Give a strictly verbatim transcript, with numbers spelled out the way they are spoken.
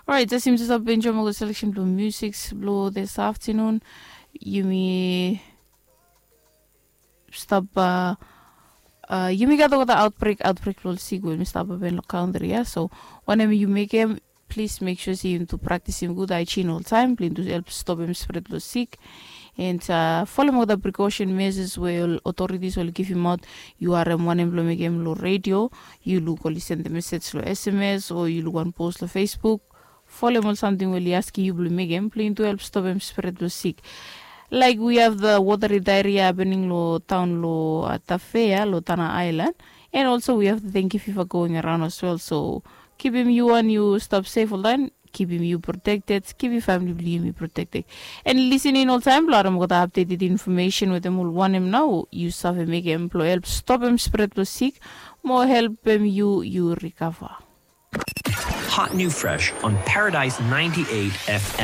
Orait, just yumi just stap enjoim ol seleksen blong musiks blong this afternoon. Yumi stap uh, uh, yumi gat olgeta outbreak outbreak blong ol sik we yumi stap hapen long kantri ya. So wanem yu mekem, plis mek sua se yumi tu praktisim gud haijin oltaim blong yumi tu help stopim spret blong sik. And uh, folem olgeta precaution measures we ol authorities oli givimaot. Yu harem wanem blong mekem long redio, yu luk oli sendem mesej long sms o yu luk wan post long facebook. Folem ol samting we oli askim yu blong mekem blong yumi tu help stopim spret blong sik. Like we have the watery diarrhea happening long town long uh, tafea long tana island. And also we have the dengue fever going around as well, so kipim yu and yu stap safe oltaim. Kipim yu protected, kipim famili blong yumi protected. And listening oltaim blong harem olgeta updated information wetem ol wanem nao yu save mekem blong help stopim spret blong sik mo helpim yu yu recover. Hot new fresh on Paradise ninety-eight F M.